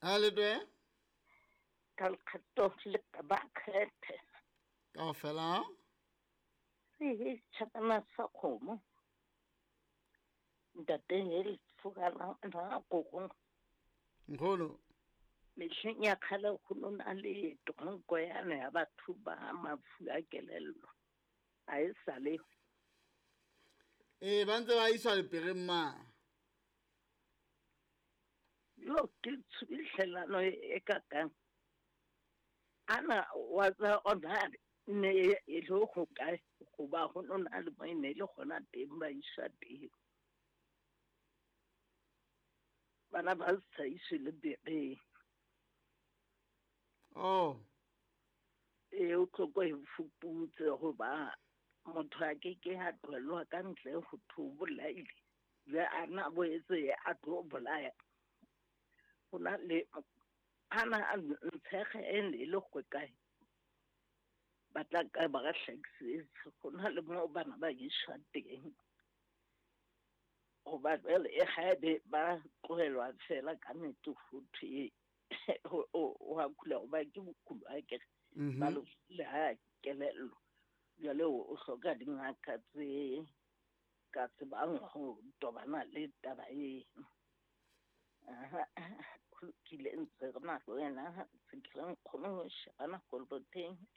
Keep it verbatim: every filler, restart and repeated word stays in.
A le twe Ka lekgetho le ka ba kgethe. Kaofela. Re tjhakana sa kgomo. Ntate he le furala na koko. Nkgono. Mehleng ya kgale go no na le tronko yane ya batho ba mafu a kelello. A e sa le. Ee, ba ntse ba iswa lepereng ma. Yo ke tshubihlelano e kakang. Ana wa tsa ona ne e le ho kae goba go no na le mo e ne e le gona teng ba iswa teng. Bana ba sa iswe le bereng. Oh. E o tlo ko e fuputse goba motho a ke ke a tlohellwa ka ntle ho thwe o bolaile. Jwale a na boetse a tlo bolaya. Ho na le ana a ntshege e ne e le go kae. Ba tla ka ba re hlakisetse. Ho na le moo bana ba iswa teng. Hoba jwale e haebe ba tlohelwa fela ka nnete ho thwe o a kula hoba ke bokulo akere. Mhm. Ba le ha kelello. Jwale o hloka dingaka tse ka tsebang ho tobana le taba eno. Aha, ho lokile ntse re na le wena, ntse ke re nkgono shebana koloboteng.